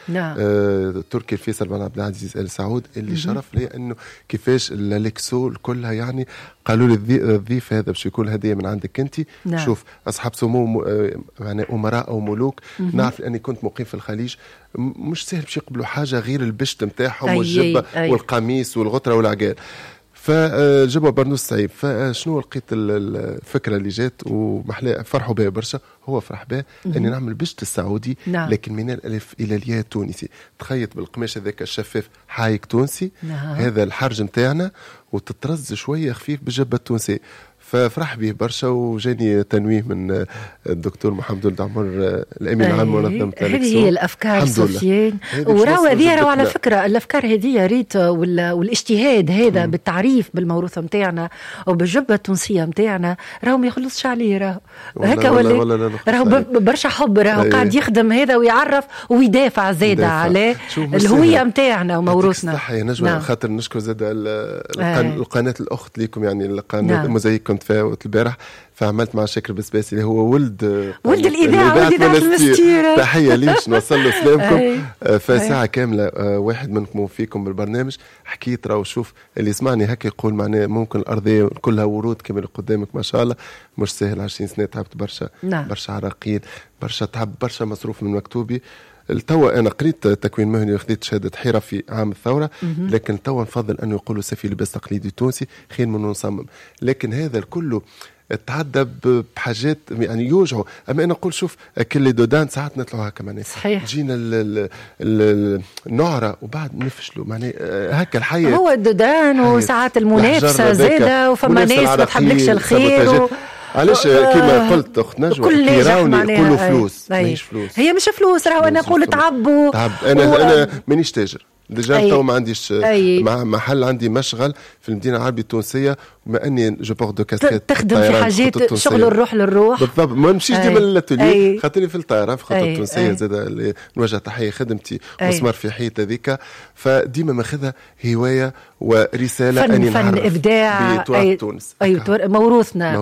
نعم. تركي الفيصل بن عبد العزيز ال سعود اللي شرف لي انه كيفاش l'Alexo كلها، يعني قالوا لي الضيف هذا باش يكون هديه من عندك انت. نعم. شوف اصحاب سمو يعني امراء او ملوك. نعرف اني كنت مقيم في الخليج، مش سهل باش يقبلوا حاجة غير البشت نتاعهم والجبه والقميص والغتره والعقال، فجبوا برنوس صعيب. فشنو لقيت الفكرة اللي جات ومحلا فرحوا بها برشا، هو فرح بها اني نعمل بشت السعودي. نعم. لكن من الالف الى الياء تونسي، تخيط بالقماش هذاك الشفاف حايك تونسي. نعم. هذا الحرج نتاعنا وتطرز شوية خفيف بالجبه التونسية، ففرح به برشا وجاني تنويه من الدكتور محمد ولد عمر الامين العام منظمة. هذه هي الافكار سفيان، وراو هذه راهو على فكرة الافكار هذه ريت والاجتهاد هذا بالتعريف بالموروث نتاعنا وبالجبه التونسية نتاعنا راهو ما يخلصش عليه، راهو هكا ولا راهو برشا حب، راهو قاعد يخدم هذا ويعرف ويدافع زاده على الهوية نتاعنا وموروثنا. صح يا نجوى. نعم. خاطر نشكر زاد القناة الاخت ليكم، يعني القناة موزايك كنت فيها البارح، فعملت مع شاكر بسباسي اللي هو ولد الاذاعة، ولد اذاعة المستير، تحية ليش نوصل له سلامكم. فساعه كاملة واحد منكم فيكم بالبرنامج حكيت راهو شوف اللي يسمعني هكا يقول معناه ممكن الارضية كلها ورود كما اللي قدامك ما شاء الله، مش سهل. 20 سنة تعبت برشا. نعم. برشا عراقيل، برشا تعب، برشا مصروف من مكتوبي. توا انا قريت تكوين مهني وخذيت شهادة حرفي عام الثورة، لكن توا نفضل انه يقولوا سفي لباس تقليدي تونسي خير من نصمم. لكن هذا الكل تعدى بحاجات يعني يوجعوا. اما انا نقول شوف كل dos d'âne ساعات نطلعوا هكا معناها صحيح، جينا النعره وبعد نفشلوا معناها هكا الحياة هو ال dos d'âne وساعات المنافسة زاده، وفما ناس ما تحبلكش الخير. علاش كيما قلت اخت نجوى كي يقولوا فلوس، ماهيش فلوس، هي مش فلوس، راهو انا نقول تعب. انا مانيش تاجر déjà، تو ما عنديش محل، عندي مشغل في المدينة العربية التونسية، بما اني je porte deux casquettes تخدم في حاجات شغل الروح للروح بالضبط، ما نمشيش ديما للاتولي خاطرني في الطائرة في خطه التونسية زاد اللي نوجه تحية خدمتي مسمار في حيط هذيك، فديما ماخذها هواية ورسالة اني فن ابداع بتراث تونس. ايوه موروثنا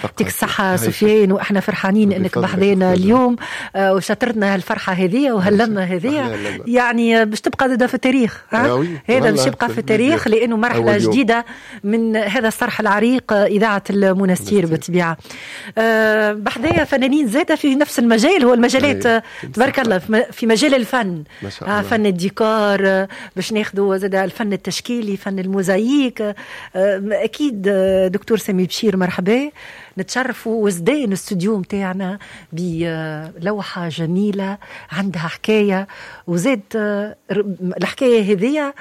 يعطيك الصحة سفيان، واحنا فرحانين انك بحذانا اليوم وشطرتنا هالفرحه هذه وهاللمه هذه، يعني باش تبقى زاده في التاريخ. هذا باش يبقى في التاريخ لانه مرحلة جديدة من هذا الصرح العريق اذاعة المنستير بالطبيعة. بحذايا فنانين زاده في نفس المجال، هو المجالات تبارك الله في مجال الفن، فن الديكور باش ناخذوا زاده الفن التشكيلي، فن الموزايك. اكيد دكتور سامي بشير مرحبا، نتشرفوا وزدان الاستوديو نتاعنا بلوحه جميلة عندها حكاية، وزاد الحكاية هذه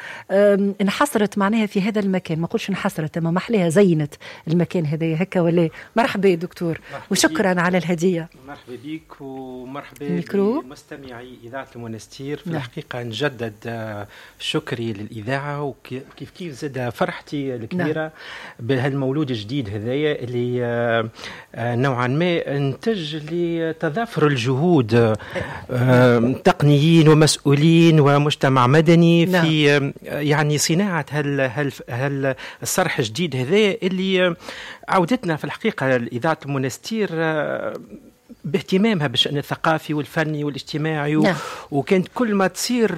انحصرت معناها في هذا المكان، ما نقولش انحصرت اما محلاها زينت المكان هذا هكا ولا. مرحبا دكتور وشكرا على الهدية. مرحبا بك ومرحبا بمستمعي اذاعة المنستير. في الحقيقة نجدد شكري للاذاعة وكيف كيف زاد فرحتي الكبيرة. نعم. بهالمولود الجديد هذايا اللي نوعا ما انتج لتضافر الجهود تقنيين ومسؤولين ومجتمع مدني. نعم. في يعني صناعة هل الصرح الجديد هذا اللي عودتنا في الحقيقة إذاعة المنستير باهتمامها بالشأن الثقافي والفني والاجتماعي. نعم. وكانت كل ما تصير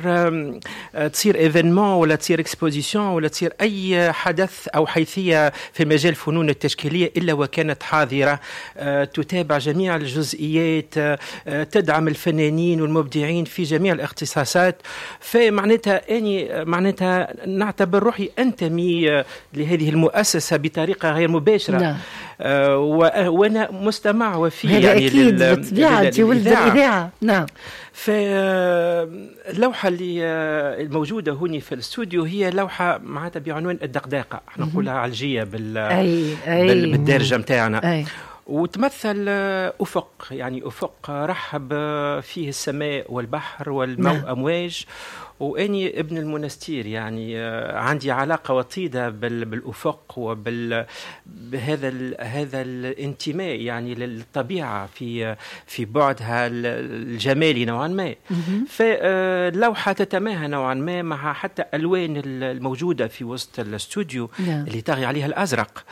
événement ولا تصير exposition ولا تصير اي حدث او حيثية في مجال الفنون التشكيليه الا وكانت حاضره، تتابع جميع الجزئيات، تدعم الفنانين والمبدعين في جميع الاختصاصات. فمعناتها اني معناتها نعتبر روحي انتمي لهذه المؤسسة بطريقة غير مباشرة. نعم. وانا مستمع وفي يعني أكيد بالطبيعة أنت ولد الإذاعة. نعم. فاللوحة اللي الموجودة هنا في الاستوديو هي لوحة معناتها بعنوان الدقداقة، احنا نقولها علجية بالدارجة متاعنا. وتمثل أفق، يعني أفق رحب فيه السماء والبحر والأمواج. وأني ابن المنستير، يعني عندي علاقة وطيدة بالأفق وبهذا هذا الانتماء يعني للطبيعة في بعدها الجمالي نوعا ما. فاللوحة تتماهى نوعا ما مع حتى ألوان الموجودة في وسط الاستوديو اللي طاغي عليها الأزرق،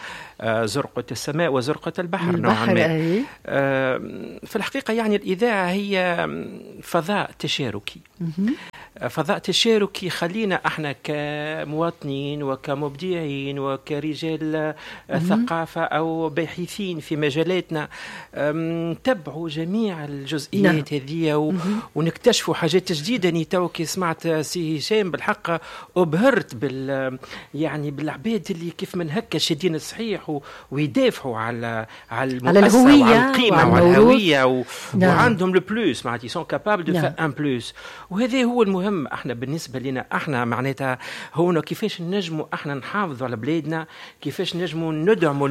زرقة السماء وزرقة البحر. نوعا ما. في الحقيقة يعني الاذاعة هي فضاء تشاركي، فضاء تشاركي خلينا احنا كمواطنين وكمبدعين وكرجال ثقافة او باحثين في مجالاتنا نتبعوا جميع الجزئيات هذه ونكتشفوا حاجات جديدة. اني تو كي سمعت سي هشام بالحق ابهرت يعني بالعباد اللي كيف من هكا شادين الصحيح ويدافعوا على المؤسسة وعلى القيمة وعلى الهوية وعندهم le plus، معناتها sont capables de faire un plus. وهذا هو المهم احنا بالنسبة لنا احنا، معناتها هو كيفاش نجموا احنا نحافظوا على بلادنا، كيفاش نجموا ندعموا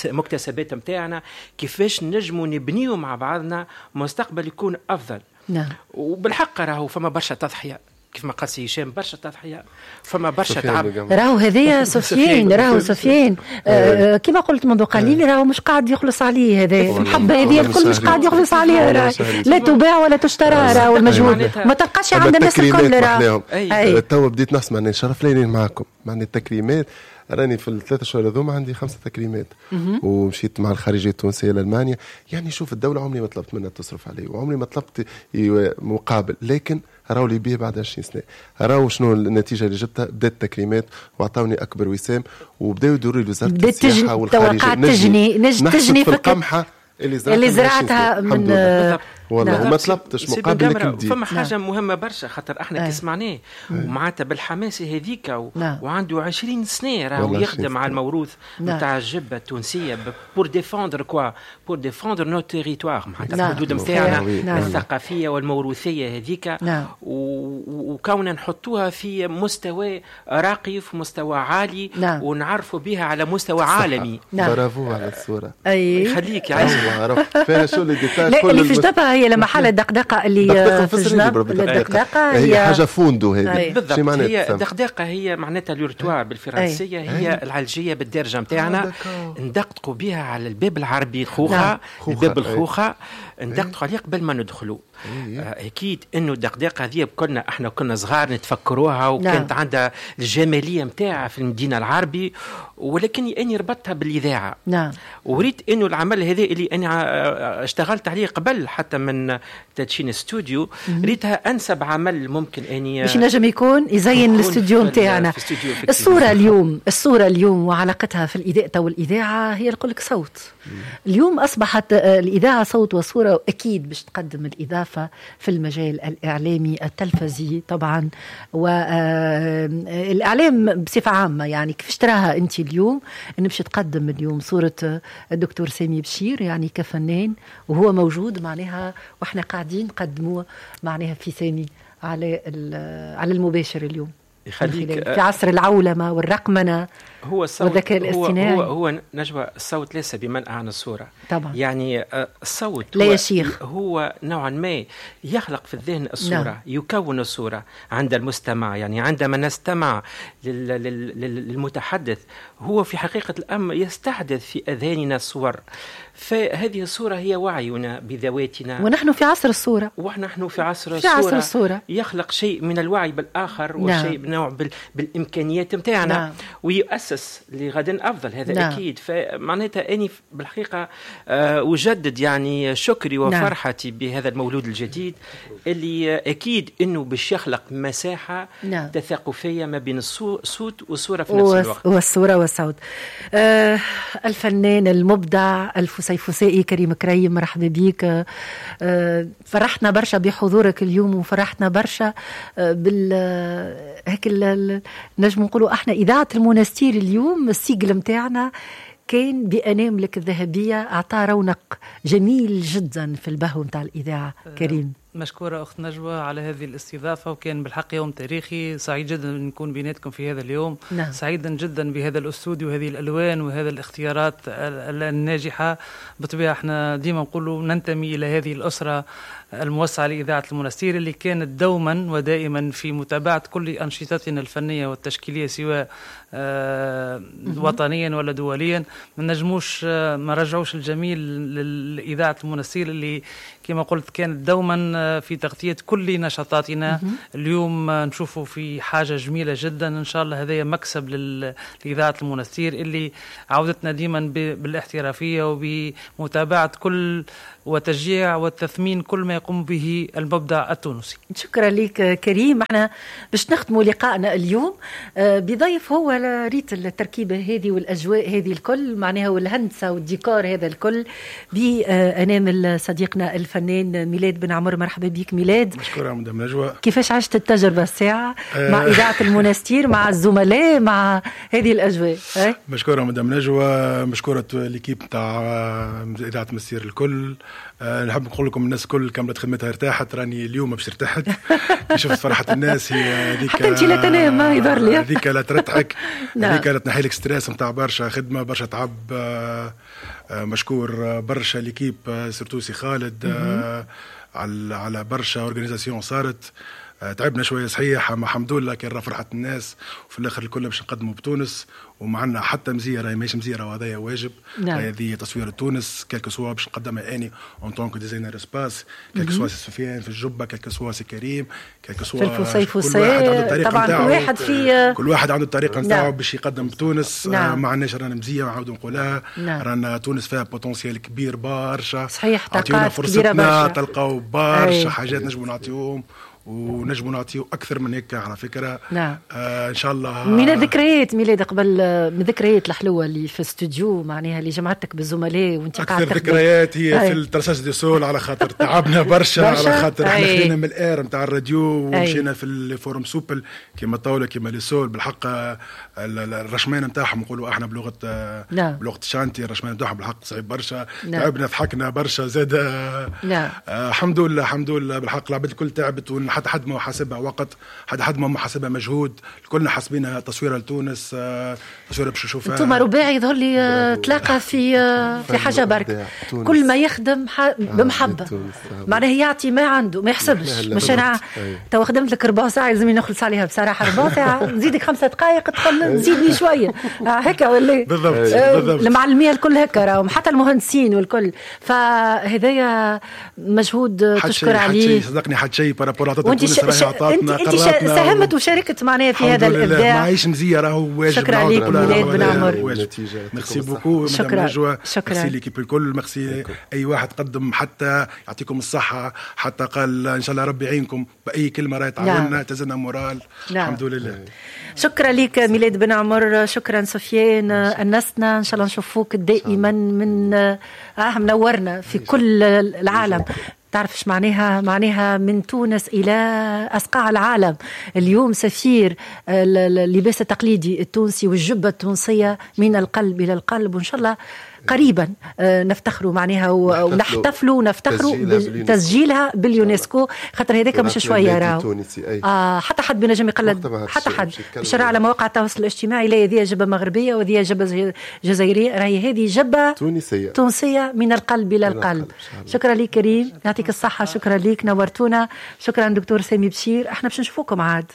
المكتسبات نتاعنا، كيفاش نجموا نبنيو مع بعضنا مستقبل يكون افضل. نعم. وبالحق راهو فما برشا تضحية كيف ما قال سي هشام، برشا تضحية، فما برشا تعب. راهو هذايا سفيان، راهو سفيان كما قلت منذ قليل راهو مش قاعد يخلص عليه هذا المحبة هذه الكل، مش قاعد يخلص عليها، راهو لا تباع ولا تشترى، راهو المجهود ما تلقاش عند الناس الكل. راهو تو بديت نسمع اني شرف لي معاكم، معني التكريمات راني في الثلاث شهور هذوما عندي 5 تكريمات، ومشيت مع الخارجية التونسية لالمانيا. يعني شوف الدولة عمري ما طلبت منها تصرف علي وعمري ما طلبت مقابل، لكن راهو لي بيه بعد 20 سنة، راهو شنو النتيجة اللي جبتها. بدات التكريمات واعطوني اكبر وسام، وبداو يدوروا لي وزارة السياحة والخارجية تجني في القمحه اللي زرعتها من والله. وما طلبتش مقابل لك. فما حاجة مهمة برشا خاطر احنا كي سمعناه ومعناتها بالحماسه هذيك وعنده 20 سنة راهو يخدم على الموروث نتاع الجبة التونسية pour défendre quoi، pour défendre nos territoires، معناتها الحدود نتاعنا الثقافية والموروثيه هذيك، وكوننا نحطوها في مستوى راقي، في مستوى عالي، ونعرفوا بها على مستوى عالمي. برافو على الصورة. يخليك يا فيها شو les détails اللي في جنبها هي لما حالة الدقدقة اللي في الجنب. الدقدقة هي حاجة فوندو هذه بالضبط. هي الدقدقة هي معناتها l'heurtoir بالفرنسية، هي العلجية بالدارجة نتاعنا، ندقدقوا بها على الباب العربي الخوخة، الباب الخوخة ندقدقوا عليه قبل ما ندخلوا. اكيد انه الدقدقه هذه كنا احنا كنا صغار نتفكروها، وكانت عندها الجمالية نتاعها في المدينة العربي، ولكن اني ربطتها بالاذاعه. نعم. وريت انه العمل هذا اللي انا اشتغلت عليه قبل حتى من تدشين استوديو، ريتها انسب عمل ممكن اني باش نجم يكون يزين الاستوديو نتاعنا. الصورة اليوم، الصورة اليوم وعلاقتها في الاذاعة والاذاعه هي نقول لك صوت. اليوم اصبحت الاذاعة صوت وصوره، واكيد باش تقدم الاضافة في المجال الاعلامي التلفزي طبعا، والاعلام بصفة عامة. يعني كيفاش تراها انت اليوم ان باش تقدم اليوم صوره الدكتور سامي بشير يعني كفنان وهو موجود معناها، واحنا قاعدين نقدموه معناها في سامي على المباشر اليوم. يخليك في عصر العولمة والرقمنه هو الصوت والذكاء الاصطناعي. هو نجوى، الصوت ليس بمنأى عن الصورة طبعا. يعني الصوت لا يشيخ، هو نوعا ما يخلق في الذهن الصورة. نعم. يكون الصورة عند المستمع. يعني عندما نستمع للمتحدث هو في حقيقة الأمر يستحدث في أذهاننا الصور، فهذه الصورة هي وعينا بذواتنا، ونحن في عصر الصورة، ونحن في عصر الصورة. يخلق شيء من الوعي بالآخر. نعم. وشيء نوع بالإمكانيات متاعنا. نعم. ويؤسس لغد أفضل، هذا. نعم. أكيد. فمعناتها أني بالحقيقة أجدد يعني شكري وفرحتي. نعم. بهذا المولود الجديد اللي أكيد أنه باش يخلق مساحة. نعم. تثاقفية ما بين الصوت والصورة في نفس الوقت، والصورة والصوت. الفنان المبدع الفسيفسائي كريم كريم، مرحبا بيك. فرحتنا برشا بحضورك اليوم، وفرحتنا برشا بال هيك نجم نقولوا احنا اذاعة المونستير اليوم السيجل متاعنا كان بأناملك الذهبية، أعطى رونق جميل جدا في البهو متاع الإذاعة. كريم، مشكورة أخت نجوى على هذه الاستضافة، وكان بالحق يوم تاريخي، سعيد جدا أن نكون بيناتكم في هذا اليوم. نعم. سعيدا جدا بهذا الاستوديو وهذه الألوان وهذا الاختيارات الناجحة. بالطبيعة احنا ديما نقولوا ننتمي إلى هذه الأسرة الموسعة لإذاعة المنستير اللي كانت دوما ودائما في متابعة كل أنشطتنا الفنية والتشكيلية سواء وطنيا ولا دوليا. ما نجموش ما رجعوش الجميل لإذاعة المنستير اللي كما قلت كانت دوما في تغطية كل نشاطاتنا. اليوم نشوفوا في حاجة جميلة جدا، إن شاء الله هذا مكسب لإذاعة المنستير اللي عودتنا ديما بالاحترافية وبمتابعة كل وتشجيع والتثمين كل ما يقوم به المبدع التونسي. شكرا لك كريم. احنا باش نختموا لقائنا اليوم بضيف هو ريت التركيبة هذه والأجواء هذه الكل معناها والهندسة والديكور هذا الكل بأنامل صديقنا الفنان ميلاد بن عمر. مرحبا بك ميلاد. مشكورة مدام نجوى. كيفاش عشت التجربة الساعة مع إذاعة المنستير، مع الزملاء، مع هذه الأجواء؟ مشكورة مدام نجوى، مشكورة l'équipe تاع إذاعة المنستير الكل. نحب نقول لكم الناس الكل كملت خدمتها ارتاحت، راني اليوم باش ارتحت كي شفت فرحة الناس هي هذيك. حتى انت لا تنام ما يظهر لي، هذيك لا ترتحك، هذيك لا تنحي لك stress نتاع برشا خدمة برشا تعب. مشكور برشا l'équipe surtout سي خالد على برشا organisation صارت. تعبنا شوية صحيح، اما الحمد لله كان فرحه الناس، وفي الاخر الكل باش نقدموا بتونس ومعنا حتى مزية، راهي ماهيش مزية، وهذايا واجب. نعم. هذه تصوير تونس quel que soit باش نقدمها اني en tant que designer espace، quel que soit سي سفيان في الجبة، quel que soit سي كريم، quel que soit في الفسيفساء. طبعا كل واحد في كل واحد عنده الطريقة نتاعو باش يقدم بتونس. نعم. ما عندناش رانا مزية، نعاودوا نقولها. نعم. رانا تونس فيها potentiel كبير برشا، صحيح، طاقات كبيرة برشا، تلقاو برشا حاجات نجموا نعطيوهم ونجموا نعطيو اكثر من هيك على فكرة. نعم. ان شاء الله. من الذكريات ميلاد قبل، من الذكريات الحلوة اللي في الاستوديو معناها اللي جمعتك بالزملاء وانت قاعد اكثر ذكريات هي في ال traçage des sols، على خاطر تعبنا برشا، على خاطر احنا خلينا من ال air نتاع الراديو ومشينا في ال formes souples كيما الطاولة كيما les sols. بالحق الرشمان نتاعهم نقولوا احنا بلغه. نعم. بلغه ال chantier، الرشمان نتاعهم بالحق صعيب برشا. نعم. تعبنا، ضحكنا برشا زاد. نعم. الحمد لله، الحمد لله بالحق العباد الكل تعبت، حتى حد ما حاسبها وقت، حتى حد ما حاسبها مجهود، كلنا حاسبينها تصويره لتونس، تصويره باش نشوفها. انتم رباعي يظهر لي تلاقى في حاجة برك، كل ما يخدم بمحبة معناه يعطي ما عنده، ما يحسبش. مش انا تو خدمت لك ربع ساعة لازم نخلص عليها بصراحة، ربع ساعة نزيدك 5 دقائق تدخل نزيدني شوية هكا ولا بالضبط. بالضبط المعلميه الكل هكا راهم، حتى المهندسين والكل. فهذايا مجهود تشكر عليه. صدقني حتى شيء par rapport وانت انت ساهمت وشاركت معناها في هذا الابداع. ماهيش مزية، راهو واجب. شكرا لك ميلاد بن عمر. merci beaucoup. شكرا، شكرا merci l'équipe الكل، ميرسي اي واحد قدم، حتى يعطيكم الصحة، حتى قال ان شاء الله ربي يعينكم باي كلمة راهي تعاوننا، تزلنا moral. نعم. الحمد لله. شكرا لك ميلاد بن عمر، شكرا سفيان، انسنا ان شاء الله نشوفوك دائما من منورنا في كل العالم. تعرف ايش معناها؟ معناها من تونس الى اصقاع العالم. اليوم سفير اللباس التقليدي التونسي والجبه التونسية من القلب الى القلب، وان شاء الله قريبا نفتخروا معناها ونحتفلوا ونفتخروا بتسجيلها باليونسكو، خاطر هذاك مش شوية راهو. حتى حد بنجم يقلد، حتى حد بشرع على مواقع التواصل الاجتماعي لا هذه جبه مغربية وهذه جبه جزائرية، راهي هذه جبه تونسية من القلب الى القلب. شكرا لك كريم، يعطيك الصحة، شكرا لك نورتونا، شكرا دكتور سامي بشير. احنا باش نشوفوكم عاد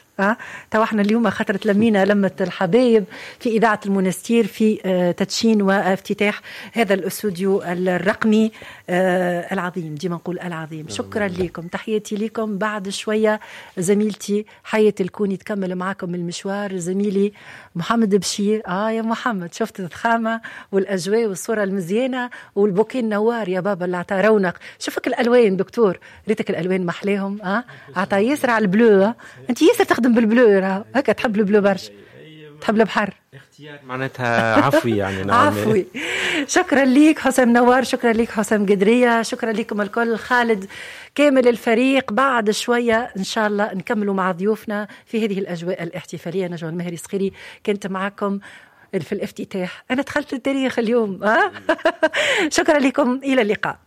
تو احنا اليوم خاطر تلمينا لمه الحبايب في اذاعة المنستير في تدشين وافتتاح هذا الاستوديو الرقمي العظيم، ديما نقول العظيم. شكرا لكم، تحياتي لكم. بعد شوية زميلتي حياة الكوني تكمل معكم المشوار، زميلي محمد بشير. يا محمد، شفت الضخامة والاجواء والصورة المزيانه والبوكيه النوار يا بابا اللي عطى رونق. شوفك الالوان دكتور، ريتك الالوان محلاهم. عطى ياسر على ال bleu. انت ياسر تخدم بال bleu، هكا تحب ال bleu برشا، تحب البحر. اختيار معناتها عفوي يعني. عفوي. شكرا ليك حسام نوار، شكرا ليك حسام قدرية، شكرا لكم الكل، خالد كامل الفريق. بعد شوية إن شاء الله نكملوا مع ضيوفنا في هذه الأجواء الاحتفالية. نجوى المهري الصخيري كنت معكم في الافتتاح، أنا دخلت التاريخ اليوم. شكرا لكم، إلى اللقاء.